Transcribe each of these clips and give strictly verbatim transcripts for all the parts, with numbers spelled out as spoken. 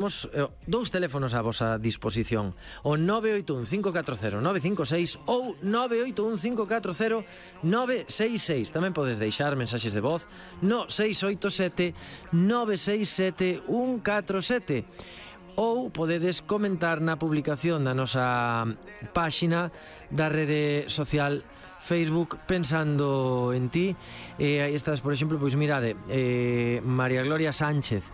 Temos eh, dous teléfonos a vosa disposición, o nove oito un cinco catro cero nove cinco seis ou nove oito un cinco catro cero nove seis seis. Tamén podes deixar mensaxes de voz no seis oito sete nove seis sete un catro sete, ou podedes comentar na publicación da nosa páxina da rede social Facebook Pensando en Ti. E aí estás, por exemplo, pois mirade, eh, María Gloria Sánchez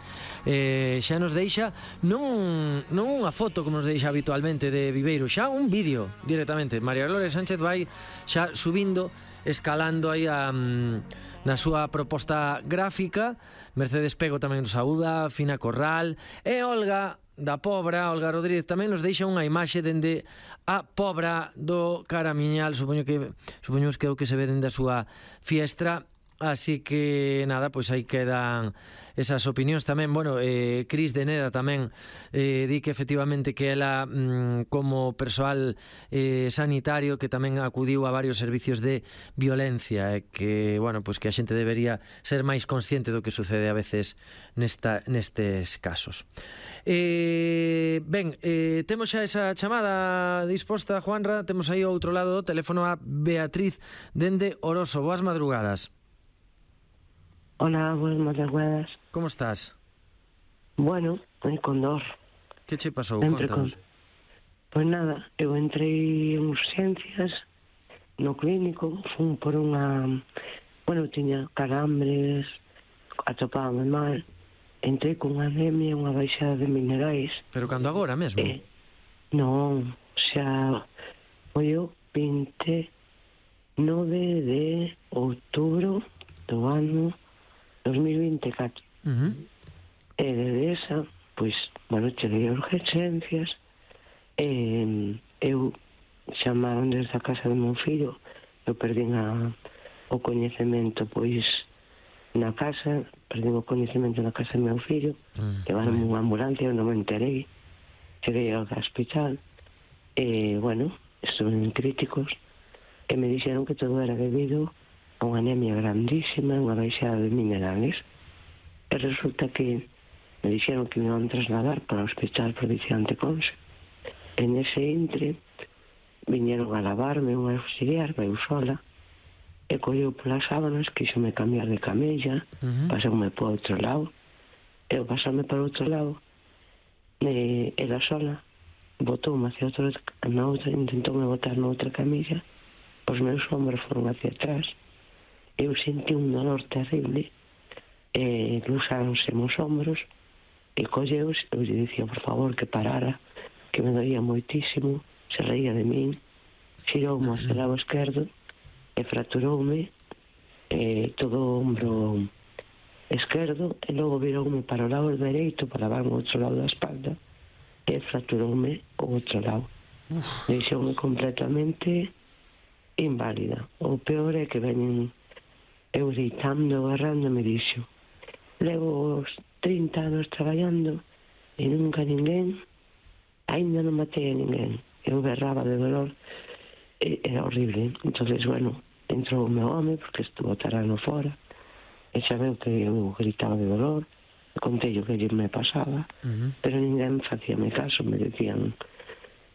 eh, xa nos deixa non, non unha foto como nos deixa habitualmente de Viveiro, xa un vídeo directamente. María Gloria Sánchez vai xa subindo, escalando aí a, na súa proposta gráfica. Mercedes Pego tamén nos saúda, Fina Corral, e Olga da Pobra, Olga Rodríguez, tamén nos deixa unha imaxe dende a Pobra do Caramiñal. Supoño que supoñemos que é o que se ve dende a súa fiestra. Así que nada, pois aí quedan esas opinións tamén. Bueno, eh, Cris de Neda tamén eh, di que efectivamente que ela mm, como persoal eh, sanitario que tamén acudiu a varios servicios de violencia, e eh, que, bueno, pois que a xente debería ser máis consciente do que sucede a veces nesta, nestes casos. Eh, ben, eh, temos xa esa chamada disposta, Juanra. Temos aí ao outro lado do teléfono a Beatriz dende Oroso. Boas madrugadas. Hola, buenas madrugadas. Como estás? Bueno, eh, con dor. Que che pasou? Sempre Contanos. Con... Pois nada, eu entrei en urgencias no clínico, fun por unha... Bueno, tiña calambres, atopábame mal, entrei con unha anemia, unha baixada de minerais. Pero cando agora mesmo? Eh, non, xa foi o vinte e nove de outubro do ano dos mil vinte e catro. Uh-huh. E desde esa, pois, bueno, cheguei a urgencias, e eu chamaron desde a casa do meu fillo, eu perdín a, o coñecemento, pois, na casa, perdín o coñecemento na casa do meu fillo, uh-huh. Levaron unha ambulancia, eu non me enterei, cheguei ao hospital, e, bueno, estuve en críticos, e me dixeron que todo era debido a unha anemia grandísima, unha baixada de minerales, e resulta que me dixeron que me iban a trasladar para o Hospital Provincial de Conso. En ese intre viñeron a lavarme unha auxiliar, vai sola, e colleu polas sábanas, quixome cambiar de camella, uh-huh. pasoume por outro lado, e eu pasarme para outro lado, e ela sola botoume hacia outra, na outra, intentoume botar na outra camilla, os meus ombros foron hacia atrás, eu senti un dolor terrible, e luxáronse meus ombros, e colleus, eu lle dicía, por favor, que parara, que me doía moitísimo, se reía de min, xiroume ao lado esquerdo, e fracturoume e todo o ombro esquerdo, e logo viroume para o lado dereito, para lavarme o outro lado da espalda, e fracturoume o outro lado. Deixoume completamente inválida. O peor é que veñen eu deitando, agarrando, me dixo, levo os trinta anos traballando e nunca ninguén, ainda non matei a ninguén. Eu berraba de dolor, e era horrible. Entonces, bueno, entrou o meu home, porque estuvo tarano fora, e xa veu que eu gritaba de dolor, e contei o que me pasaba, uh-huh. pero ninguén facíame caso, me decían,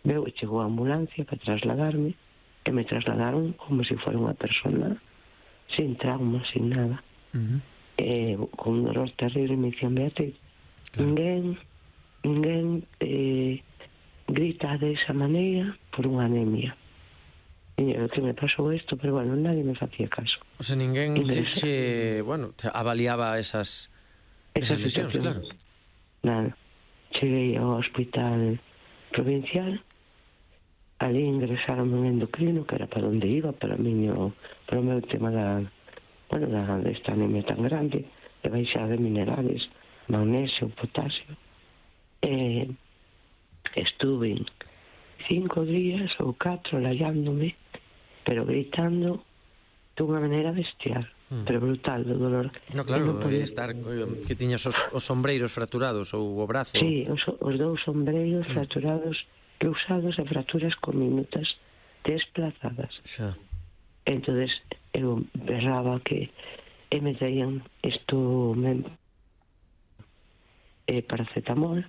veu, chegou a ambulancia para trasladarme, e me trasladaron como se fora unha persona sin trauma, sin nada. Uh-huh. Eh, con un dolor terrible me dicían, Beatriz, claro. ninguén ninguén eh, grita de esa maneira por unha anemia. E eu, que me pasou isto, pero bueno, nadie me facía caso. O sea, ninguén che, che, bueno, te avaliaba esas, esas lesións, claro. Nada. Cheguei ao hospital provincial, ali ingresaron un endocrino, que era para onde iba, para, miño, para o meu tema da, bueno, da, desta anemia tan grande, de baixada de minerales, magnesio, potasio. E estuve cinco días ou catro lallándome, pero gritando dunha maneira bestial, hmm. pero brutal, do dolor. No, claro, non podía estar, que tiñas os, os sombreiros fracturados, ou o brazo. Sí, os, os dous sombreiros hmm. fracturados, cruzados e fracturas conminutas desplazadas. Xa. Entonces eu berraba que e me traían isto me, eh, paracetamol,